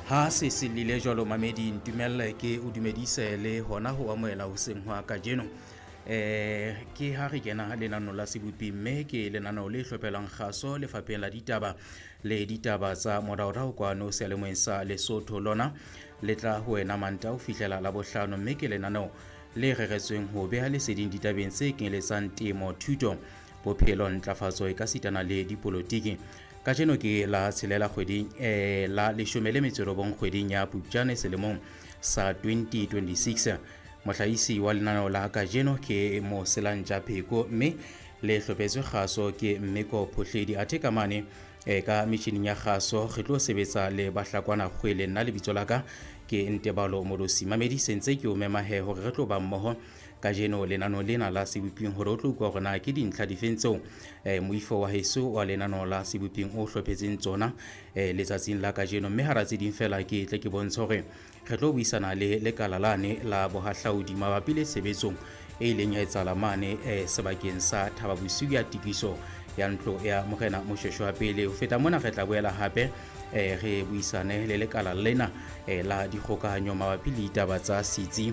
Ha se se lile jwalo mamedi ntumelle ke o dumedise le hona ho amohela hoseng hwa kajeno. Ke ha re kena lenaneo la sebopi mme ke lenaneo le hlophelang kgaso lefapheng la ditaba le ditaba tsa moraorao kwano seyalemoyeng sa Lesotho. Lona le tla ho wena Mantaha ho fihlela Labohlano mme ke lenaneo le reretsweng ho beha leseding ditabeng tse kenyeletsang temo, thuto, bophelo, ntlafatso e ka sitana le dipolotiki. Kajeno ke la tshelela kgweding la leshome le metso e robong kgweding ya Phupjane selemong sa 2026. Mohlahisi wa lenaneo la kajeno ke Moselantja Pheko mme le hlophetswe kgaso ke Mmeko Phohledi. Athe ka mane ka metjhining ya kgaso re tlo sebetsa le Bahlakwana Kgwele. Nna lebitso la ka ke Ntebalo Morosi. Mamedi sentse ke o mema he hore re tlo ba mmoho kajeno lenaneo lena la seboping hore o tlo utlwa hore na ke dintlha difeng tseo moifo wa heso wa lenaneo la seboping o hlophetseng tsona letsatsing la kajeno. Mme hara tse ding fela ke tle ke bontshe hore re tlo buisana le lekala lane la bohahlaudi mabapi le tshebetsong e ileng ya etsahala mane sebakeng sa Thaba Bosiu ya tikiso ya ntlo ya Morena Moshweshwe wa pele. Ho feta mona re tla boela hape re buisane le lekala lena la dikgokahanyo mabapi le ditaba tsa setsi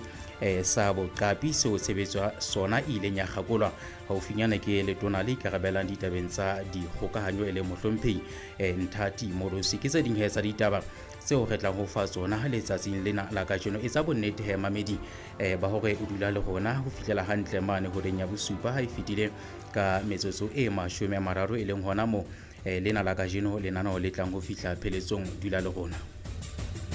sa boqapi seo tshebetso ya sona e ileng ya kgakolwa haufinyane ke letona le ikarabelang ditabeng tsa dikgokahanyo e leng mohlomphehi Nthati Morosi. Ke tse ding he tsa ditaba tseo re tlang ho fa tsona letsatsing lena la kajeno. Etsa bonnete he mamedi ba hore o dula le rona ho fihlela hantle mane horeng ya bosupa ha e fetile ka metsotso e 30 e leng hona moo lena la kajeno lenaneo le tlang ho fihla pheletsong. Dula le rona.